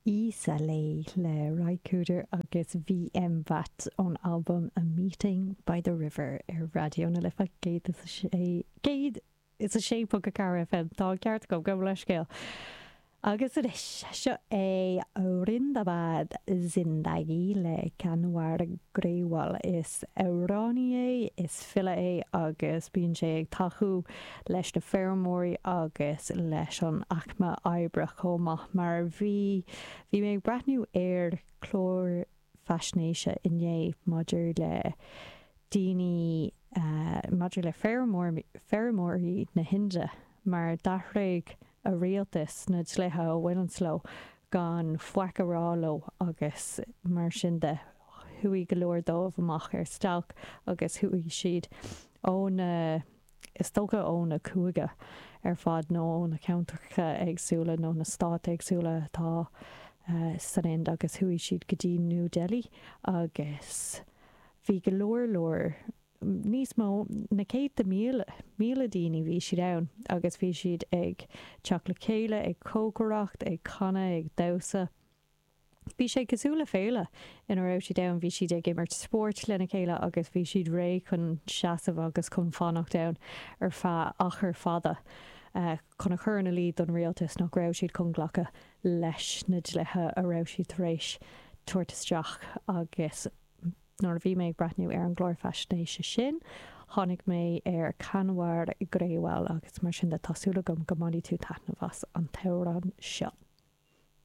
Isa Lay le Ry Cooder agus VM Bhatt ón albam A Meeting by the River ar Raidió na Life 106 106.4 FM. Tá an ceart agam, gabh mo leithscéal. Agus anois, seo é Zindabad Zindagi le Kanwar Grewal. Is amhránaí é, is file é agus bíonn sé ag tacú leis na feirmeoirí agus leis an aicme oibre chomh maith. Mar bhí, bhí mé ag breathnú ar chlár faisnéise inné maidir le daoine, maidir le feirmeoirí, feirmeoirí na hInde mar d'athraigh a rialtas na dlíthe a bhaineanns leo gan faic a rá leo agus mar sin de chuaigh go leor dóibh amach ar stailc agus chuaigh siad ó na is dócha ó na cúige ar fad nó ó na ceantracha éagsúla nó na stáit éagsúla atá san Ind agus chuaigh siad go dtí New Delhi agus bhí go leor leor níos mó na céadta míle míle daoine bhí siad ann agus bhí siad ag teacht le chéile ag cócaireacht ag canadh ag damhsa. Bhí sé cosúil le féile ina raibh siad ann, bhí siad ag imirt spóirt lena chéile agus bhí siad réidh chun seasamh agus chun fanacht ann ar feadh achar fada chun a chur ina luí don rialtas nach raibh siad chun glacadh leis na dlíthe a raibh siad tar éis tabhairt isteach agus nuair a bhí mé ag breathnú ar an gclár faisnéise sin tháinig mé ar Kanwar Grewal agus mar sin de tá súil agam go mbainfidh tú taitneamh as an t-amhrán seo.